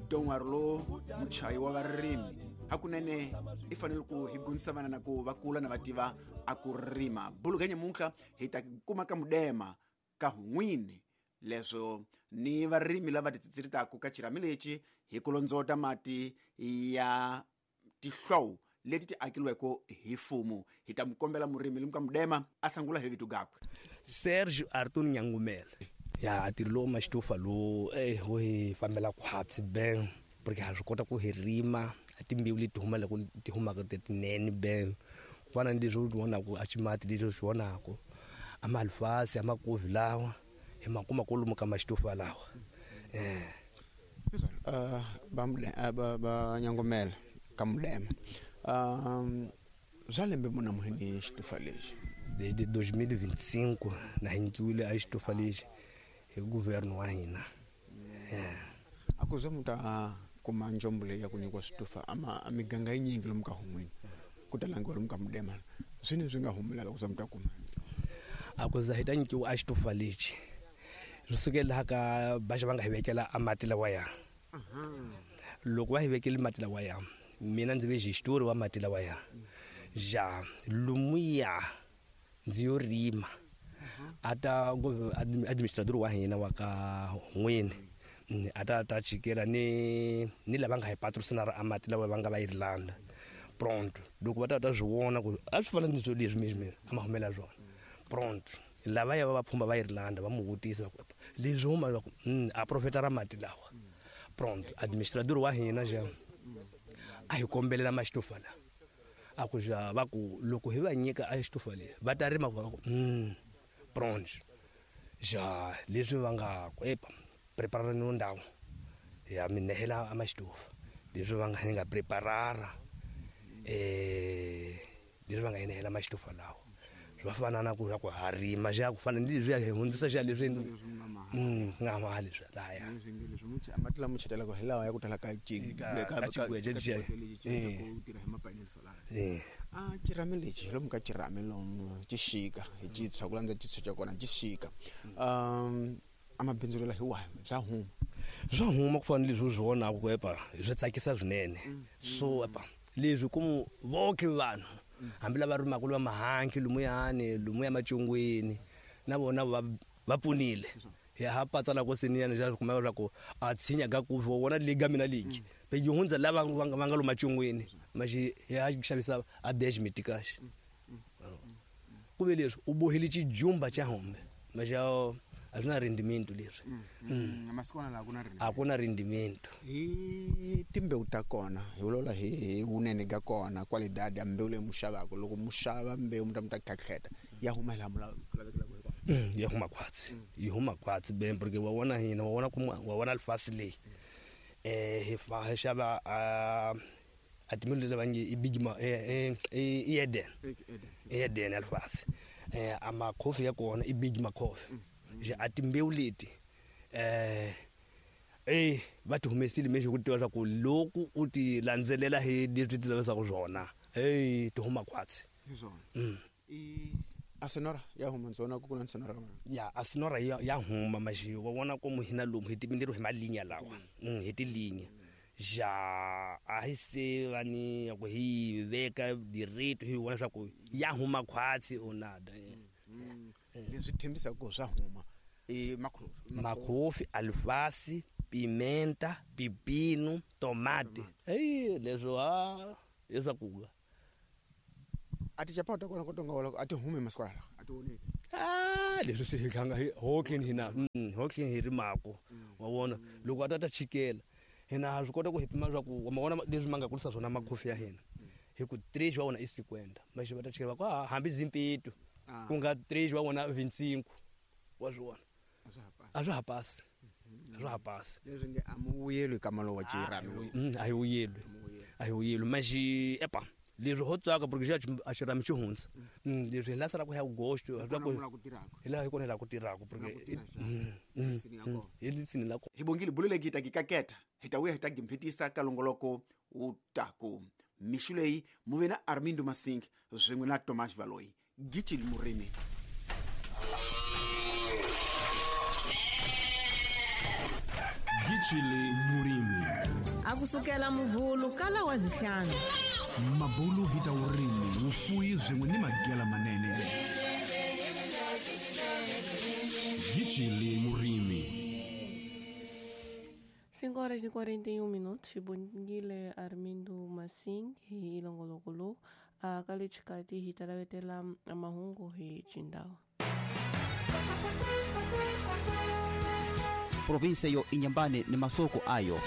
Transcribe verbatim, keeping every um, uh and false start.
Don't worry lo muchayi wa varimi hakunene i fanele ku hi gunisa vana na ku va kula na va tiva a ku rima bulu nyamuntlha hi ta kuma ka mudema ka hun'wini leswo ni varimi lava titsitsiritaku ka xirhami lexi hi ku londzota mati ya tihlowu leti ti akiliweke hi mfumo. Hi ta mu kombela murimi lomu ka mudema a sangula hi vito gakwe. Sergio Arthur Nyangumela. Ya ntirho lowu maxitofa lowu eh wo hi fambela khwatsi ben porque ha swi kota ku hi rima a timbewu leti huma loko ti humaka tinene ben ku fana ni leswi u vonaku a ximati leswi u swi vonaku a malifasi a makovi lawa hi ma kuma kwalomu ka maxitofa lawa. Eh uh ba ba ba Nyangumela ka mudema um bya lembe muna muhini xitofa lexi desde dois mil e vinte e cinco na hi nyikiwile a xitofa lexi hi governo wa hina. A ku ze mu ta kuma njombo leyi ya ku nyikiwa switofa ama a miganga yinyingi lomu ka hun'wini ku ta langiwa lomu ka mudema swini swi nga humelela ku za mu ta kuma a ku za hi ta nyikiwa a xitofa lexi swi sukela laha ka baxa va nga hi vekela a mati lawa ya loko va hi vekele mati lawa ya mina ndzi ve xitori wa mati lawa ya ja lumuya ndzi yo rima a ta administrator wa hina wa ka n'wini a ta ta chikela ni ni lava nga hi patrocinara a mati lawa va nga va Irlanda pronto loko va ta ta swi vona ku a swi fana ni swo leswi mina mina a ma humela swona pronto lava ya va pfhumba va Irlanda va mu vutisa ku leswi huma va ku a profeta ra mati lawa pronto administrator wa hina ja a hi kombelela maxitofa la a ku ja va ku loko hi va nyika a xitofa le va ta rima va ku mm pronto ja leswi va nga ku epa preparara no ndhawu ya minehela a maxitofa leswi va nga hi nga preparara eh leswi va nga hinehela maxitofa lawa swi va fana na ku ku ha rima ja ku fana ni leswi hi hundzisa xa leswi mm nga ma leswi laya mati lama chetelaka hi lawa ya ku tala ka ka xigweje ku tirha hi mapanel solar a xirhami lexi lomu ka xirhami lomu xi xika hi xitshwa ku landza xitshwa xa kona xi xika um a mabindzu lela hi wahi bya huma swa huma ku fana ni leswi u swi vonaka ku epa swi tsakisa swinene so epa leswi ku voke vanhu hambi lava rimaka lwa mahanki lumuyani lumuya macungwini na vona va va pfunile ya ha patsa la ko seniyana ja kuma va ku a tshinya ga ku vona liga mina ligi pe hundza lava va nga lo macungwini maxi ya xavisa a dez mitikash ku ve leswi u bohile xijumba xa hombe maxi a swi na rendimento leswi masikwana la ku na a ku na rendimento hi timbewu ta kona hi vulavula hi vunene ga kona qualidade ya mbewu leyi mu xavaka loko mu xava mbewu mu ta mu ta khakheta ya huma hi laha mu lavekelaka hi kona ya huma khwatsi yi huma khwatsi ben porque wa vona hina wa vona kuma wa vona lifasi leyi eh hi fa hi xava a a timbewu lava nge i big ma eh i Eden Eden alifasi eh ama coffee ya kona i big ma coffee ja a timbewu leti eh eh va ti humesile mexi ku tiva swa ku loko u ti landzelela hi leswi ti lavisaka swona hey ti huma khwatsi hi swona i asenora ya huma ndzona ku kuna senora ya asenora ya ya huma maxi wa vona ku hina lomu hi timindiro hi malinya lawa hi tilinya ja a hi se va ni ku hi veka direct hi vona swa ku ya huma khwatsi o nada leswi thembisaka ku swa huma i makhofi makhofi alfasi pimenta pipino tomate hey leswo ha leswaku a ti chapata kona ko tonga wala a ti hume masikwana a ti oneki ah leswi swi hi tlanga hi hokeni hina hokeni hi rimako wa vona loko a ta ta chikela hina ha swi kota ku hi pima swa ku wa ma vona leswi ma nga kulisa swona makhofi ya hina hi ku três wa vona i cinquenta maxi va ta chikela va ku hambi zimpeto ku nga três wa vona vinte e cinco wa swi vona a swa ha pasi a swa ha pasi leswi nge a mu vuyelwi ka malo wa xirhami a hi vuyelwi a hi vuyelwi maxi epa leswi ho tsaka porque xa a xirhami xi hundza leswi hi la salaka hi agosto hi laha hi kona hi laha ku tirhaka porque hi lisini la hi bongile bulu leyi ta kikaketa hi ta vuya hi ta gimphitisa ka longoloko wu taku mixu leyi mu ve na Armindo Masing swin'we na Thomas Valoyi Gitchili Murimi. Gitchili Murimi. Akusukela muvhulu kala wa zihlanu. Mabulu hi ta vurimi, vufuwi swin'we ni magela manene. Yichile murimi. cinco horas e quarenta e um minutos, Xibongile Armindo Massing hi Ilongolokolo, a kalichikati hi talavetela mahungu hi Chindao. Provinsia yo Inhambane ni masoko ayo.